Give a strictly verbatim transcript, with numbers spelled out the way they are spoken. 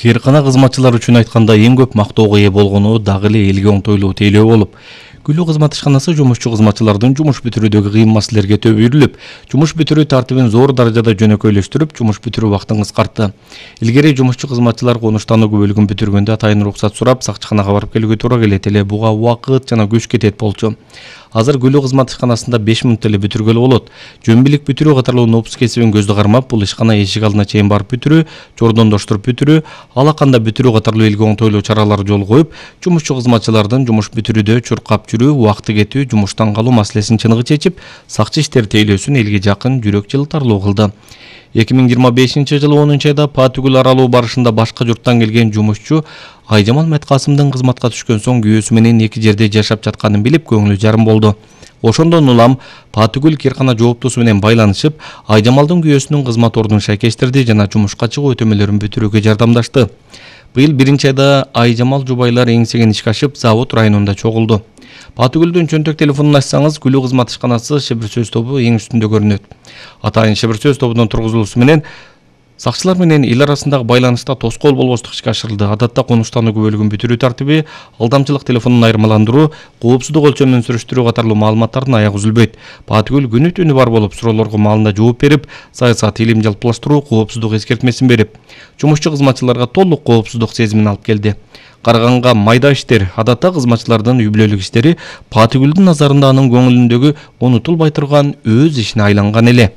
Кээркана кызматчылар үчүн айтканда эң көп мактоого ээ болгону дагы эле элге оңтойлуу тейлөө болуп, Гүлүү кызмат ишканасы жумушчу кызматчылардын жумуш бүтүрүүдөгү кыйын маселелерге төбөлүп, жумуш бүтүрүү тартибин зор даражада жөнөкөйлөштүрүп, жумуш бүтүрүү убактын кыскартты. Илгери жумушчу кызматчылар конуштандуу бөлүгүн бүтүргөндө атайын уруксат сурап, сакчыканага барып келүүгө туура келет эле. Буга убакыт жана күч кетет болчу. Азыр Гүлүү кызмат ишканасында беш мүнөттө эле бүтүргөлө болот. Жөнбилик бүтүрүү катарлуу нопус кесибин көздө кармап, бул ишкана эшик алдына чейин барып бүтүрүү, жордондоштуруп бүтүрүү, алаканда бүтүрүү катарлуу элге оңтойлуу чаралар жол коюп, жумушчу кызматчылардын жумуш бүтүрүүдө чуркап жүрүү, убакыты кетүү, жумуштан калуу маселесин чыныгы чечип, сакчы иштер тейлөөсүн элге жакын, жүрөк жылтарлуу кылды. эки миң жыйырма бешинчи жылы онунчу айда Патүгүл аралуу барышында башка журттан келген жумушчу Айжамал Меткасымдын кызматка түшкөн соң күйөөсү менен эки жерде жашап жатканын билип, көңүлү жарым болду. Ошондон улам Патүгүл Кээркана жооптусу менен байланышып, Айжамалдын күйөөсүнүн кызмат ордун шайкештирди жана жумушка чыгуу өтөмөлөрүн бүтүрүүгө жардамдашты. Быйыл биринчи айда Айжамал жубайлар эңсеген ишке ашып, Завод районунда чогулду. Патүгүлдүн чөнтөк телефонун ачсаңыз, Гүлүү кызмат ишканасы шебир сөз тобу эң үстүндө көрүнөт. Атайын шебир сөз тобунун тургузулуусу менен сакчылар менен эл арасындагы байланышта тоскоол болбостук ишке ашырылды. Адатта конуштандуу бөлүгүн бүтүрүү тартиби, алдамчылык телефонун айырмаландыруу, коопсуздук өлчөмүн сүрүштүрүү катарлуу маалыматтардын аягы үзүлбөйт. Патүгүл күнү түнү бар болуп, суроолорго маалында жооп берип, саясат илим жалпылаштыруу, коопсуздук эскертмесин берип, жумушчу кызматчыларга толук коопсуздук сезимин алып келди. Караганга майда иштер, адатта кызматчылардын үй бүлөлүк иштери Патүгүлдүн назарында анын көңүлүндөгү унутулбай турган өз ишине айланган эле.